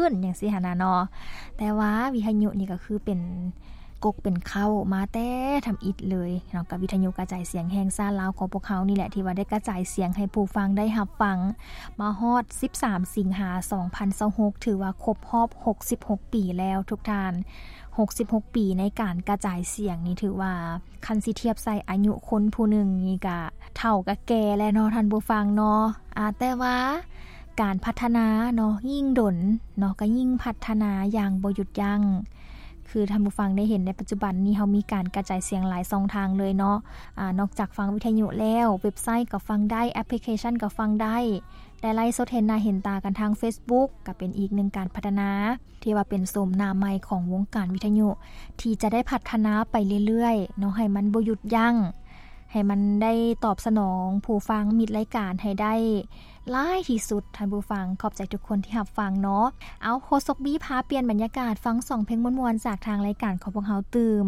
ຂຶ້ນ ຈັ່ງຊີ້ຫັ້ນນະເນາະ. ແຕ່ວ່າວິທະຍຸນີ້ກໍຄືເປັນກົກເປັນເຄົ້າມາແຕ່ທຳອິດເລີຍເນາະ, ກັບວິທະຍຸກະຈາຍສຽງແຫ່ງຊາດລາວຂອງພວກເຮົານີ້ແຫຼະ ທີ່ວ່າໄດ້ກະຈາຍສຽງໃຫ້ຜູ້ຟັງໄດ້ຮັບຟັງມາຮອດສິບສາມສິງຫາສອງພັນຊາວຫົກ ຖືວ່າຄົບຮອບຫົກສິບຫົກປີແລ້ວທຸກທ່ານ. ຫົກສິບຫົກປີໃນການກະຈາຍສຽງນີ້ ຖືວ່າຄັນຊິທຽບໃສ່ອາຍຸຄົນຜູ້ໜຶ່ງນີ້ກະເຖົ້າກະແກ່ແລ້ວເນາະທ່ານຜູ້ຟັງເນາະ. ອາ ແຕ່ວ່າການພັດທະນາເນາະ ຍິ່ງດົນເນາະ ກະຍິ່ງພັດທະນາຢ່າງບໍ່ຢຸດຢັ້ງ. ຄືທ່ານຜູ້ຟັງໄດ້ເຫັນໃນປັດຈຸບັນນີ້ ເຮົາມີການກະຈາຍສຽງຫຼາຍຊ່ອງທາງເລີຍເນາະ. ອາ ນອກຈາກຟັງວິທະຍຸແລ້ວ ເວັບໄຊກໍຟັງໄດ້, ແອັບພລິເຄຊັນກໍຟັງໄດ້, ໄລຟ໌ສົດເຫັນໜ້າເຫັນຕາກັນທາງເຟສບຸກ ກໍເປັນອີກໜຶ່ງການພັດທະນາ ທີ່ວ່າເປັນໂສມໜ້າໃໝ່ຂອງວົງການວິທະຍຸ ທີ່ຈະໄດ້ພັດທະນາໄປເລື້ອຍໆເນາະ ໃຫ້ມັນບໍ່ຢຸດຢັ້ງ, ໃຫ້ມັນໄດ້ຕອບສະໜອງຜູ້ຟັງມິດລາຍການໃຫ້ໄດ້ຫຼາຍທີ່ສຸດ. ທ່ານຜູ້ຟັງ ຂອບໃຈທຸກຄົນທີ່ຮັບຟັງເນາະ. ເອົາ ໂຄສົກບີພາປ່ຽນບັນຍາກາດ ຟັງສອງເພງມ່ວນໆຈາກທາງລາຍການຂອງພວກເຮົາຕື່ມ.